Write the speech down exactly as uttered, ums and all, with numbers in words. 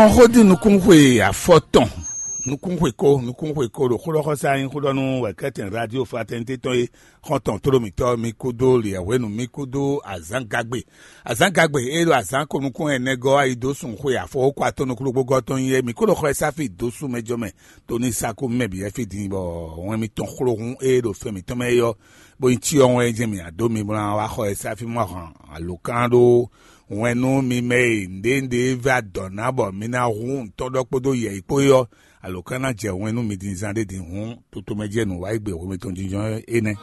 Ɔn xó dín nukúnxwe afɔtɔn, nukúnxwe kó, nukúnxwe kó ɖo xó ɖɔ xɔsá nyí xó ɖɔ nú wɛ̌kɛ́tɛn radio fraternité tɔn e xɔ́ntɔn tló mǐtɔn mi kúdó liɛ̌hwenu mi kúdó azǎngagbe. Azǎngagbe e ɖo azǎn ko nukún ɛnɛ gɔ́ ayi dó sun xwe afɔwókɔ atɔn nukúnɖokpógɔ́ tɔn nyí é, mǐ kó ɖo xɔ e sáfi dó sú mɛ jɔ mɛ. Tó ní sákú mɛ bǐ wɛ fí din bɔ wɛn mitɔn xló hún e ɖo fɛn mǐtɔn mɛ é ɔ́, bó nyí cyɔ wɛn jɛ́n mǐ adó mi bó ná wá xɔ e sáfi mɔ hɔn alǒkan ɖó wɛn nú mi mɛ e nǔɖé nǔɖé vɛ́ adɔ̌ ná bɔ mi ná hu nǔtɔn ɖɔ kpódó yɛ̌yi kpó é ɔ́, alǒkan ná jɛ wɛn nú mi din zán ɖé din hǔn, toto mɛ jɛ nǔ wá yi gbe hwemɛ tɔn jínjɔ́n énɛ́.